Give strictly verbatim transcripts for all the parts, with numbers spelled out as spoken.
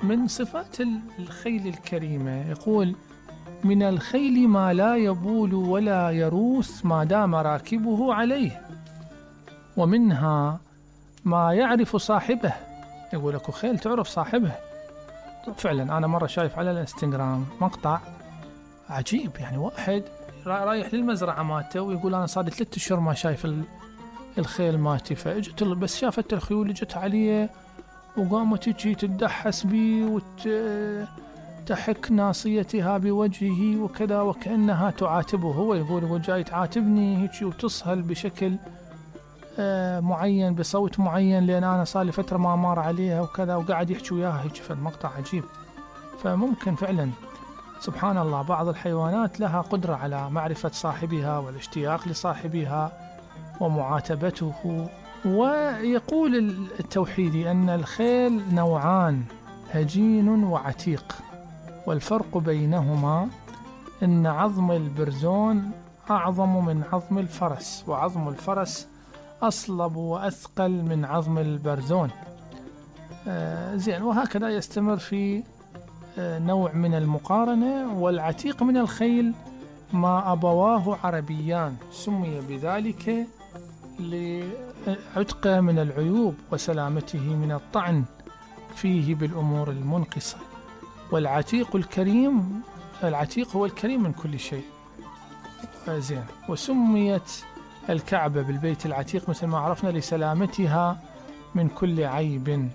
من صفات الخيل الكريمة يقول: من الخيل ما لا يبول ولا يروث ما دام راكبه عليه، ومنها ما يعرف صاحبه. يقول لك خيل تعرف صاحبه. فعلا أنا مرة شايف على الانستغرام مقطع عجيب، يعني واحد رايح للمزرعة مالته ويقول أنا صار لي ثلاثة أشهر ما شايف الخيل مالتي، فاجت بس شافت الخيول اجت عليه وقامت تجي تدحس بي وتحك ناصيتها بوجهه وكذا وكأنها تعاتبه. هو يقول هو جاي تعاتبني هيك وتصهل بشكل آه معين بصوت معين لأن أنا صار لي فترة ما مار عليها وكذا، وقاعد يحكي وياها هيك. فالمقطع عجيب. فممكن فعلا سبحان الله بعض الحيوانات لها قدرة على معرفة صاحبها والاشتياق لصاحبها ومعاتبته. ويقول التوحيدي أن الخيل نوعان: هجين وعتيق، والفرق بينهما أن عظم البرزون أعظم من عظم الفرس، وعظم الفرس أصلب وأثقل من عظم البرزون. آه زين. وهكذا يستمر في آه نوع من المقارنة. والعتيق من الخيل ما أبواه عربيان، سمي بذلك لعتقه من العيوب وسلامته من الطعن فيه بالأمور المنقصة. والعتيق الكريم، العتيق هو الكريم من كل شيء. زين. وسميت الكعبة بالبيت العتيق مثل ما عرفنا لسلامتها من كل عيب،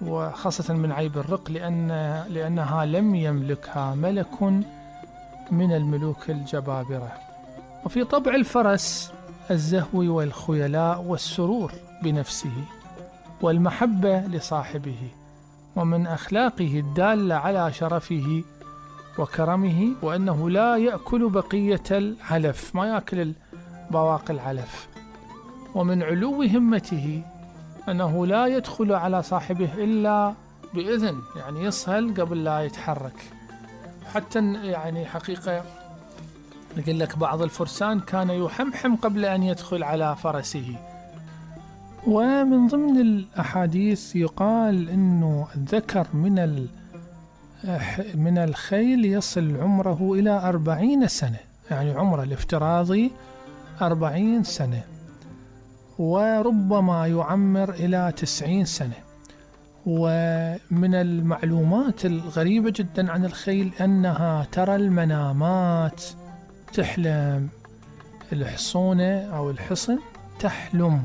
وخاصة من عيب الرق، لأن لأنها لم يملكها ملك من الملوك الجبابرة. وفي طبع الفرس الزهو والخيلاء والسرور بنفسه والمحبة لصاحبه، ومن أخلاقه الدالة على شرفه وكرمه وأنه لا يأكل بقية العلف، ما يأكل بواقي العلف. ومن علو همته أنه لا يدخل على صاحبه إلا بإذن، يعني يصهل قبل لا يتحرك. حتى يعني حقيقة يقول لك بعض الفرسان كان يحمحم قبل أن يدخل على فرسه. ومن ضمن الأحاديث يقال إنه الذكر من من الخيل يصل عمره إلى أربعين سنة، يعني عمره الافتراضي أربعين سنة، وربما يعمر إلى تسعين سنة. ومن المعلومات الغريبة جدا عن الخيل أنها ترى المنامات، تحلم. الحصونة أو الحصن تحلم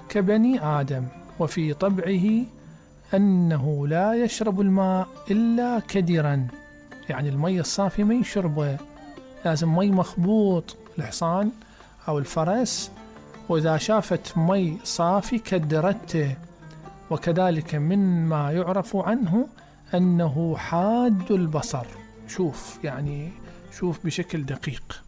كبني آدم. وفي طبعه أنه لا يشرب الماء إلا كدرا، يعني المي الصافي ما يشربه، لازم مي مخبوط الحصان أو الفرس، وإذا شافت مي صافي كدرته. وكذلك مما يعرف عنه أنه حاد البصر، شوف يعني شوف بشكل دقيق.